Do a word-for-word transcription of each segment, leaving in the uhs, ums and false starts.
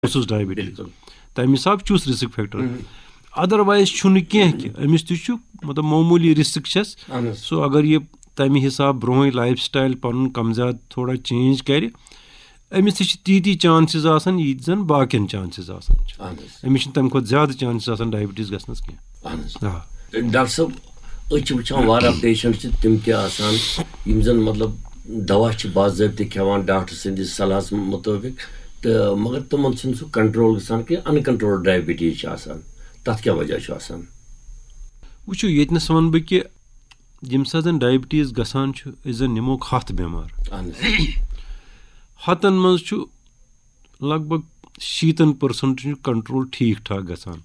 اوسُس ڈائبٹیز۔ تَمہِ حساب چھُس رسک فیکٹر۔ ادروائز چھُنہٕ کینٛہہ کہِ أمِس تہِ چھُ، مطلب، معموٗلی رسک چھَس۔ سو اگر یہِ تَمہِ حساب برونٛہٕے لائف سٹائل پَنُن کم زیادٕ تھوڑا چینج کرِ، أمِس تہِ چھِ تیٖتی چانسز آسان، ییٖتۍ زَن باقین چانسز آسان چھِ۔ أمِس چھِنہٕ تَمہِ کھۄتہٕ زیادٕ چانسز آسان ڈائبٹیز گژھنَس کینٛہہ۔ آ۔ ڈاکٹر صٲب، أسۍ چھِ وٕچھان واریاہ پیشنٹ چھِ تِم تہِ آسان، یِم زَن، مطلب، دوا چھِ باضٲبطہٕ کھٮ۪وان ڈاکٹر سٕنٛدِس صلاحس مُطٲبِق، تہٕ مگر تِمن چھُنہٕ سُہ کنٹرول گژھان کہِ ان کنٹرول ڈائبٹیز چھِ آسان۔ تَتھ کیٛاہ وجہ چھُ آسان؟ وٕچھِو، ییٚتنَس وَنہٕ بہٕ کہِ ییٚمہِ ساتہٕ زَن ڈائبٹیز گژھان چھُ، أسۍ زَن نِموکھ ہَتھ بٮ۪مار۔ ہَتَن منٛز چھُ لگ بگ شیٖتَن پٔرسَنٹَن چھُ کنٹرول ٹھیٖک ٹھاک گژھان۔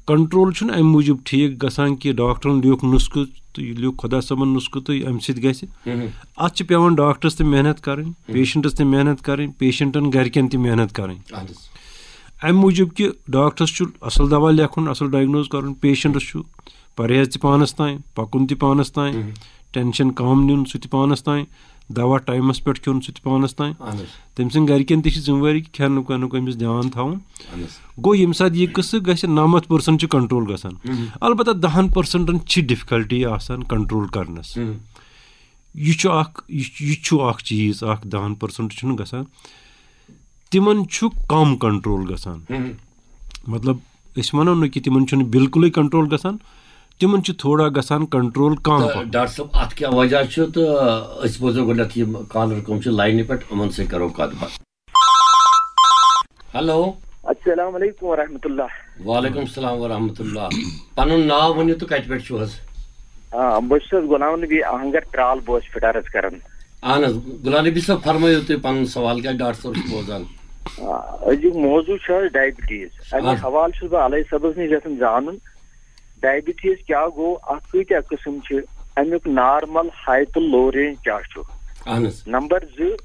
کنٹرول چھُنہٕ اَمہِ موٗجوٗب ٹھیٖک گژھان کہِ ڈاکٹرَن لیوٗکھ نُسخہٕ تہٕ یہِ لیوٗکھ خۄدا صٲبَن نُسخہٕ تہٕ اَمہِ سۭتۍ گژھِ۔ اَتھ چھِ پٮ۪وان ڈاکٹرَس تہِ محنت کَرٕنۍ، پیشنٹَس تہِ محنت کَرٕنۍ، پیشنٹَن گَرِکٮ۪ن تہِ محنت کَرٕنۍ۔ اَمہِ موٗجوٗب کہِ ڈاکٹرَس چھُ اَصٕل دَوا لیکھُن، اَصٕل ڈائگنوز کَرُن، پیشنٹَس چھُ پرہیز تہِ پانَس تام، پَکُن تہِ پانَس تام، ٹینشن کم نیُن سُہ تہِ پانَس تام، دوا ٹایمَس پٮ۪ٹھ کھیوٚن سُہ تہِ پانَس تام۔ تٔمۍ سٕنٛدۍ گَرِکٮ۪ن تہِ چھِ ذمہٕ وٲری کہِ کھٮ۪نُک وٮ۪نُک أمِس دھیان تھاوُن۔ گوٚو ییٚمہِ ساتہٕ یہِ قٕصہٕ گژھِ، نَمَتھ پٔرسَنٹ چھُ کنٹرول گژھان۔ البتہ دَہَن پٔرسَنٹَن چھِ ڈِفکَلٹی آسان کنٹرول کَرنَس۔ یہِ چھُ اَکھ، یہِ یہِ چھُ اَکھ چیٖز، اَکھ دَہَن پٔرسَنٹ چھُنہٕ گژھان۔ تِمَن چھُ کم کنٹرول گژھان۔ مطلب، أسۍ وَنو نہٕ کہِ تِمَن چھُنہٕ بالکلٕے کنٹرول گژھان، تِمَن چھُ تھوڑا گژھان کنٹرول کم تہٕ پَہَم۔ ڈاکٹر صٲب، اَتھ کیٛاہ وجہ چھُ؟ تہٕ أسۍ بوزو گۄڈٕنٮ۪تھ یِم کالر کٕم چھِ لاینہِ پٮ۪ٹھ، یِمَن سۭتۍ کَرو کَتھ باتھ۔ ہیلو۔ السلام علیکم ورحمۃ اللہ۔ وعلیکم السلام ورحمۃ اللہ۔ پَنُن ناو ؤنِو تہٕ کَتہِ پٮ۪ٹھ چھِو حظ؟ آ، بہٕ چھُس حظ غلام نبی آہنگر، ترال بوس فِٹارَس کران۔ اہن حظ، غلام نبی صٲب، فرمٲیِو تُہۍ پَنُن سوال، کیٛازِ ڈاکٹر صٲب چھُ بوزان۔ آ، أزیُک موضوع چھُ حظ ڈائبٹیز۔ اَمہِ اہن۔ حوالہٕ چھُس بہٕ علوی صٲبَس نِش یَژھان زانُن، ڈائبٹیز کیٛاہ گوٚو، اَتھ کۭتیٛاہ قٕسٕم چھِ، اَمیُک نارمل، ہائی تہٕ لو رینج کیٛاہ چھُ؟ اہن حظ۔ نمبر زٕ،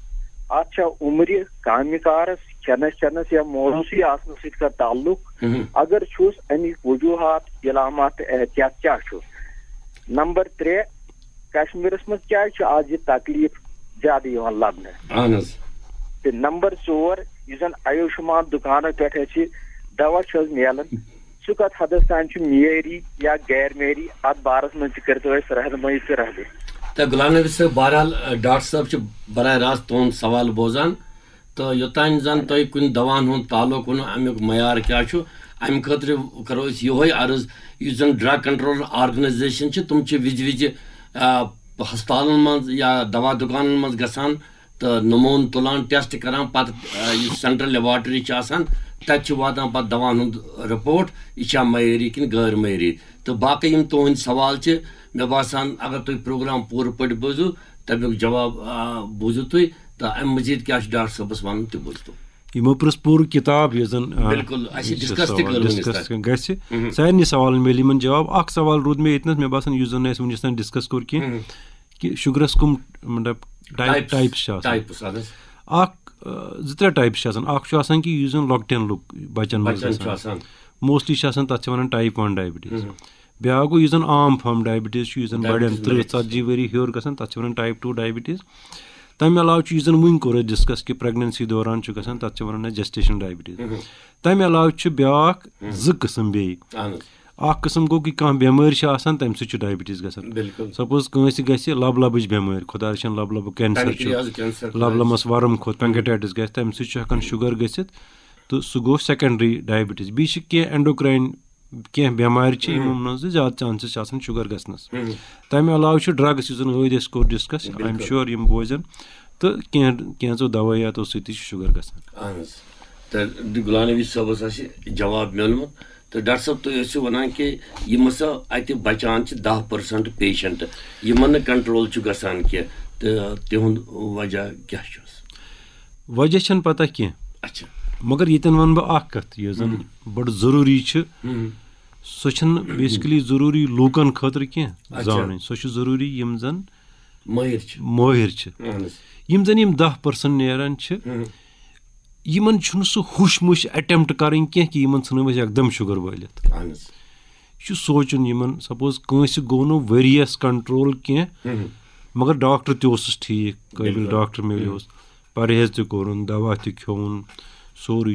اَتھ چھا عمرِ، کامہِ کارَس، کھٮ۪نَس چٮ۪نَس یا موضوٗعی آسنَس سۭتۍ کانٛہہ تعلق؟ مہم۔ اگر چھُس، اَمِکۍ وجوٗہات، علامات تہٕ احتیاط کیٛاہ چھُ؟ نمبر ترٛےٚ، کشمیٖرَس منٛز کیٛازِ چھُ آز یہِ تکلیٖف زیادٕ یِوان لبنہٕ؟ اہن حظ۔ تہٕ نمبر ژور، یُس زَن آیوشمان دُکانو پٮ۪ٹھ اَسہِ دوا چھُ حظ میلان، سُہ کَتھ حدس تام چھُ معیٲری یا غیر معیٲری، اَتھ بارَس منٛز تہِ کٔرۍتو اَسہِ رہنمٲیی تہٕ رہبری۔ تہٕ غلام نبی صٲب، بہرحال، ڈاکٹر صٲب چھِ براہ راست تُہُنٛد سوال بوزان، تہٕ یوٚتام زَن تۄہہِ کُنہِ دَواہَن ہُنٛد تعلق ووٚنوُ، اَمیُک معیار کیٛاہ چھُ، اَمہِ خٲطرٕ کَرو أسۍ یِہوٚے عرض، یُس زَن ڈرگ کنٹرول آرگنائزیشن چھِ، تِم چھِ وِزِ وِزِ، آ، ہسپتالَن منٛز یا دوا دُکانَن منٛز گژھان تہٕ نموٗنہٕ تُلان، ٹیسٹ کران، پتہٕ، آ، یُس سینٹرل لیبارٹری چھِ آسان، تَتہِ چھِ واتان پتہٕ دَواہَن ہُنٛد رپورٹ، یہِ چھا معیٲری کِنہٕ غٲر معیٲری۔ تہٕ باقٕے یِم تُہٕنٛدۍ سوال چھِ، مےٚ باسان اگر تُہۍ پروگرام پوٗرٕ پٲٹھۍ بوٗزِو، تَمیُک جواب، آ، بوٗزِو تُہۍ، تہٕ اَمہِ مٔزیٖد کیٛاہ چھُ ڈاکٹر صٲبَس وَنُن، تہِ بوٗزِو۔ یِمو پرٛژھ پوٗرٕ کِتاب، یۄس زَن، آ، بِلکُل، اَسہِ یُس ڈسکس تہِ سوال کٔر وٕنِس ڈسکس تام۔ گژھِ، ہُم۔ سارنٕے سوالَن میلہِ یِمَن جواب۔ اَکھ سوال روٗد مےٚ ییٚتنَس، مےٚ باسان، یُس زَن نہٕ اَسہِ وٕنِس تام ڈسکس کوٚر کینٛہہ، ہُم۔ کہِ شُگرَس کٕم، مطلب، ٹائپ، ٹائپس۔ ٹائپس چھِ آسان۔ ٹائپس، اَہَن حظ۔ اَکھ، آ، زٕ ترٛےٚ ٹائپس چھِ آسان۔ اَکھ چھُ آسان کہِ یُس زَن لۄکٹٮ۪ن لُک، بَچَن منٛز بَچَن چھُ گژھان۔ آسان۔ موسٹلی چھِ آسان، تَتھ چھِ وَنان ٹائپ ون ڈائبٹیز۔ ہُم۔ بیٛاکھ گوٚو یُس زَن عام فارم ڈائبٹیز چھُ، یُس زَن بَڑٮ۪ن ڈائبٹیز ترٕٛہ، مٔریٖض۔ ژتجی ؤری ہیوٚر گژھان، تَتھ چھِ وَنان ٹائپ ٹو ڈائبٹیز۔ تَمہِ علاوٕ چھُ، یُس زَن وٕنۍ کوٚر اَسہِ ڈسکس کہِ پریگننسی دوران چھُ گژھان، تَتھ چھِ وَنان جسٹیشن ڈائبٹیز۔ مہم۔ تَمہِ علاوٕ چھُ بیٛاکھ، مہم۔ زٕ قٕسم بیٚیہِ۔ اہن حظ۔ اَکھ قٕسم گوٚو کہِ کانٛہہ بٮ۪مٲرۍ چھِ آسان، تَمہِ سۭتۍ چھُ ڈائبٹیز گژھان۔ بِلکُل۔ سپوز کٲنٛسہِ گژھِ لب لبٕچ بٮ۪مٲرۍ، خۄداے رٔچھِنۍ، لب لبہٕ کینسر چھُ، پینکریاز کینسر لب خۄدایَس۔ لبَس وَرُم کھوٚت، پینکریٹائٹس گژھِ، تَمہِ سۭتۍ چھُ ہٮ۪کان شُگر گٔژھِتھ، تہٕ سُہ گوٚو سیکنڈری ڈائبٹیز۔ بیٚیہِ چھِ کینٛہہ اینڈوکراین کینٛہہ بٮ۪مارِ چھِ، ہم۔ یِمو منٛز زیادٕ چانسز چھِ آسان شُگر گژھنَس۔ ہم۔ تَمہِ علاوٕ چھُ ڈرگس، یُس زَن ٲدۍ اَسہِ کوٚر ڈسکس، بِلکُل۔ I'm sure یِم بوزن، تہٕ کینٛہہ، کینٛژو دوٲیاتو سۭتۍ تہِ چھُ شُگر گژھان۔ اہن حظ۔ تہٕ غلام نبی صٲبَس آسہِ جواب میوٗلمُت۔ تہٕ ڈاکٹر صٲب، تُہۍ ٲسِو وَنان کہِ یِم ہسا اَتہِ بَچان چھِ دَہ پٔرسنٹ پیشنٹ، یِمن نہٕ کنٹرول چھُ گژھان کینٛہہ، تہٕ تِہُنٛد وجہ کیٛاہ چھُس؟ وجہ چھَنہٕ پتہ کینٛہہ۔ اچھا۔ مگر ییٚتٮ۪ن وَنہٕ بہٕ اکھ کَتھ، یۄس زَن ہم۔ بَڑٕ ضروٗری چھِ، ہم۔ سۄ چھَنہٕ بیسکلی ضروٗری لوٗکَن خٲطرٕ کینٛہہ اچھا۔ زانٕنۍ، سۄ چھِ ضروٗری یِم زَن مٲہِر چھِ۔ مٲہِر چھِ۔ اہن حظ۔ یِم زَن یِم دَہ پٔرسنٹ نیران چھِ، ہم۔ یِمن چھُنہٕ سُہ ہُش مُش اٹیمپٹ کَرٕنۍ کینٛہہ کہِ یِمن ژھٕنو أسۍ یکدم شُگر وٲلِتھ۔ اہن حظ۔ یہِ چھُ سونٛچُن یِمن، سپوز کٲنٛسہِ گوٚو نہٕ ؤریَس کنٹرول کینٛہہ، ہم۔ مگر ڈاکٹر تہِ اوسُس ٹھیٖک، قٲبِل بِلکُل۔ ڈاکٹر میلیوس، پرہیز تہِ کوٚرُن، دوا تہِ کھیوٚوُن، سورُے